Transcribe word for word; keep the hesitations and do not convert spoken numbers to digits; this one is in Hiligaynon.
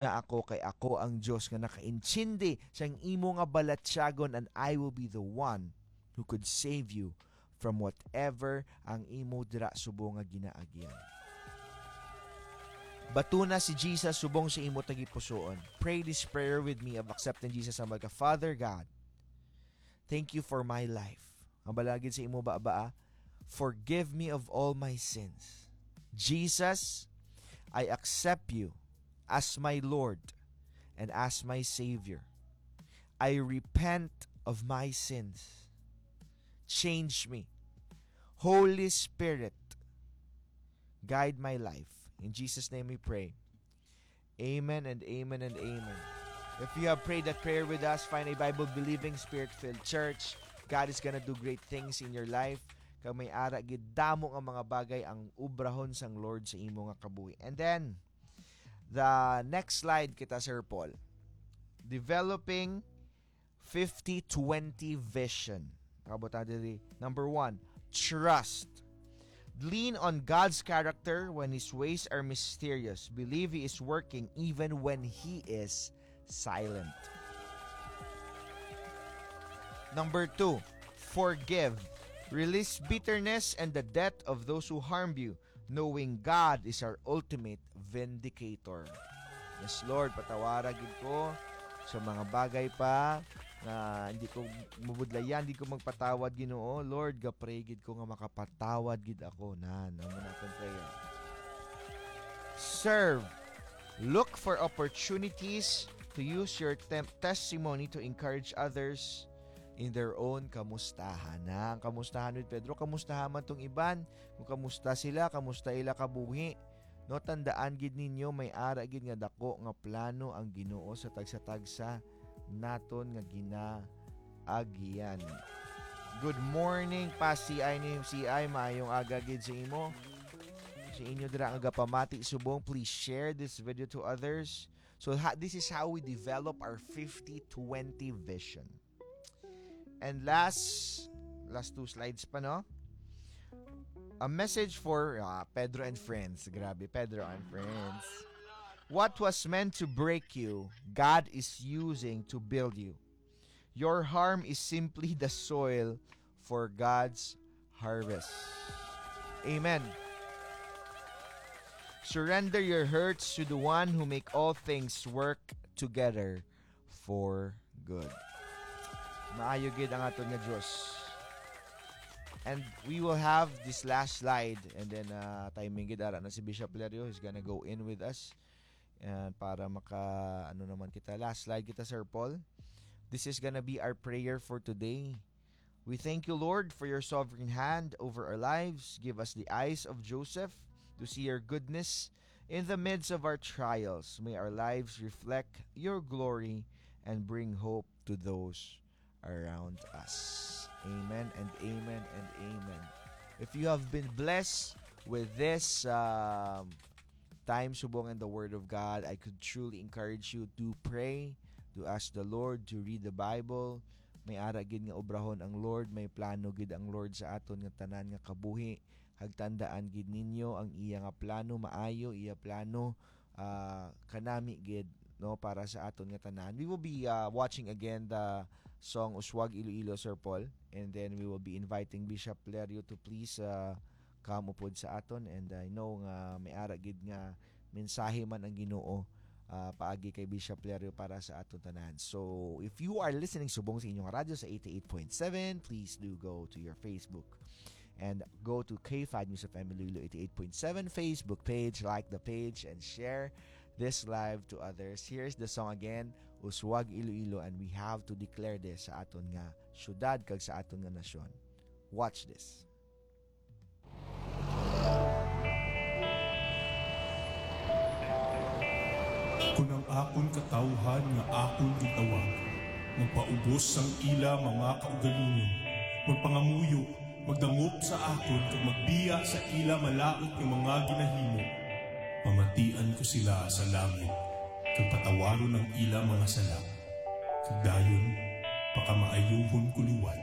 na ako, kay ako ang Dios nga nakaintindi sang imo nga balatyagon, and I will be the one who could save you from whatever ang imo dira subong nga ginaagyan. Batuna si Jesus subong sa imo tagipusoon. Pray this prayer with me of accepting Jesus as my Father God, thank you for my life. Ang balagid sa imo ba, ba? Forgive me of all my sins. Jesus, I accept you as my Lord and as my Savior. I repent of my sins. Change me. Holy Spirit, guide my life. In Jesus' name we pray. Amen and amen and amen. If you have prayed that prayer with us, find a Bible-believing, spirit-filled church. God is gonna do great things in your life. Kag may ara gid damo nga mga bagay ang ubrahon sang Lord sa imo nga kabuhi. And then, the next slide kita, Sir Paul. Developing fifty twenty vision. Pakabutang diri. Number one, trust. Lean on God's character when His ways are mysterious. Believe He is working even when He is silent. Number two, forgive. Release bitterness and the debt of those who harmed you, knowing God is our ultimate vindicator. Yes, Lord, patawara gid ko sa mga bagay pa na hindi ko mabudlayan, hindi ko magpatawad, Ginoo. Lord, ga-pray gid ko nga makapatawad gid ako. Nan, amo na akong prayer. Serve. Look for opportunities to use your tem- testimony to encourage others in their own kamustahan. Na, ang kamustahan with Pedro, kamustahan man tong iban. Kung kamusta sila, kamusta ila kabuhi. No, tandaan gid ninyo, may ara gid nga dako nga plano ang Ginoo sa tagsa-tagsa naton nga ginaagyan. Good morning, pa C I ni C I. Maayong aga gid sa imo. Sa inyo dira nga gapamati subong, please share this video to others. So, ha, this is how we develop our fifty twenty vision. And last, last two slides pa, no? A message for, ah, Pedro and friends. Grabe, Pedro and friends. What was meant to break you, God is using to build you. Your harm is simply the soil for God's harvest. Amen. Surrender your hurts to the one who make all things work together for good. Maayo gid ang aton nga Dios. And we will have this last slide, and then, uh, timing gid ara na si Bishop Lerio is gonna go in with us. And para maka, ano naman kita, last slide kita, Sir Paul. This is gonna be our prayer for today. We thank you, Lord, for your sovereign hand over our lives. Give us the eyes of Joseph to see your goodness in the midst of our trials. May our lives reflect your glory and bring hope to those around us. Amen and amen and amen. If you have been blessed with this, um, time subong in the Word of God, I could truly encourage you to pray, to ask the Lord, to read the Bible. May ara gid nga obrahon ang Lord, may plano gid ang Lord sa aton nga tanan nga kabuhi. Hagtandaan gid ninyo ang iya nga plano, maayo iya plano, ah, kanami gid, no, para sa aton nga tanan. We will be, ah, watching again the song Uswag Iloilo, Sir Paul, and then we will be inviting Bishop Lerio to please, ah, come upod sa aton, and I know nga may ara gid nga mensahe man ang Ginoo, ah, paagi kay Bishop Lerio para sa aton tanan. So, if you are listening subong sa inyong radyo sa eighty-eight point seven, please do go to your Facebook and go to K five News F M Iloilo eighty-eight point seven Facebook page, like the page, and share this live to others. Here's the song again, Uswag Iloilo, and we have to declare this sa aton nga syudad kag sa aton nga nasyon. Watch this. Kon ang akon katawuhan nga akon gintawag magpaubos sang ila mga kaugalingon, magpangamuyo, magdangop sa akon, kag magbiya sa ila malaut nga mga ginahimo, pamatian ko sila sa langit, kag patawaron ang ila mga sala, kag dayon pakamaayohon ko liwat